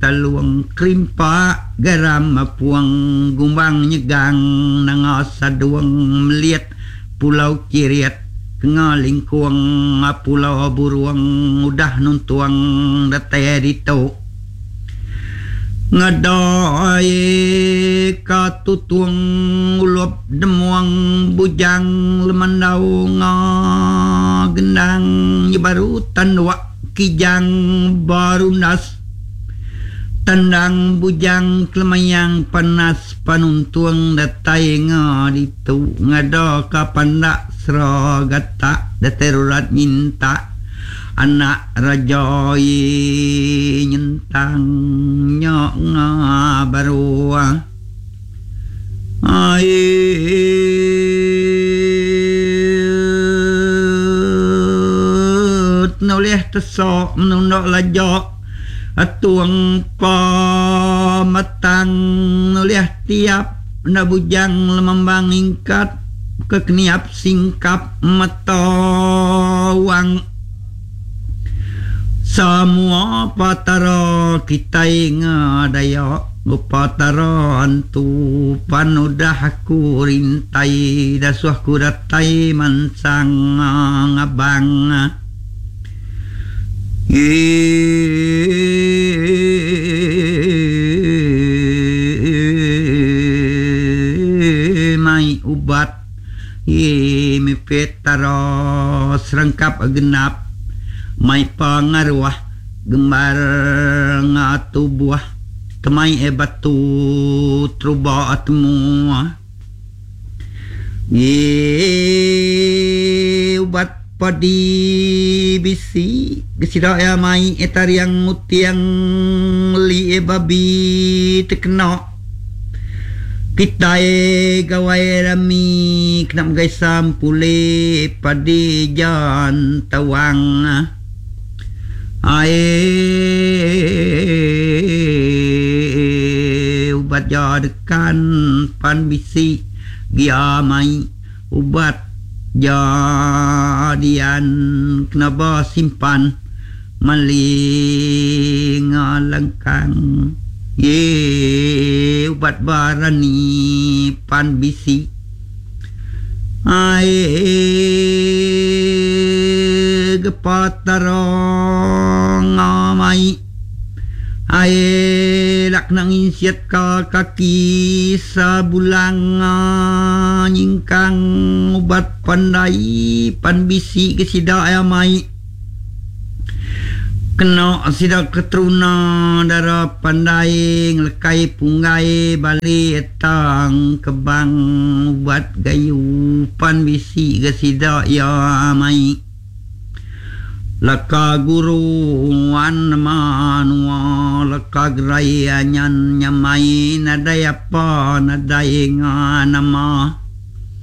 Talung Kerimpak Garam Puang Gumbang Nyegang Nanga Sadung Melit Pulau Kirit Kenga Lingkung Pulau Burung udah nuntung datai ditu. Ngedai ka tutung ulup demung bujang lemandau nga gendang nyebaru tanduk kijang berundas tandang bujang kelemayang panas panuntung datai nga ditu ngada ka pandak sera gatak datai rurat nyintak. Anak raja iya nyentang nya nga baru ai nulih tesok menunda laja atung pemetang nulih tiap enda bujang lemambang ingkat ke keniap singkap mata wang. Samua patara kitai ngadaya Petara antu pan udah aku rintai dasuh ku datai mansang ngabang. Ii mai ubat. Ii mipit tara serengkap genap mai pengaruh gembar nga tubuh temai batu teruba temu. Ii ubat padi bisi sida iya mai tariang muting li babi tekena. Kitai gawai rami kena megai sampuli padi jan tawang. Ai ubat ja dekan pan bisi gia mai ubat ja dian kena ba simpan. Mali ngalengkang ye ubat barani pan bisi ai gepa tara ngamai ai lak kena nginsit ka kaki sabulang nyingkang ubat pandai pan bisi ke sida iya mai. Kena sida keteruna dara pandai ngelekai punggai bali etang kebang ubat gayu pan bisi ga sida iya mai. Leka guru wan menua leka gerai anyan nyamai nadai apa nadai nga nama.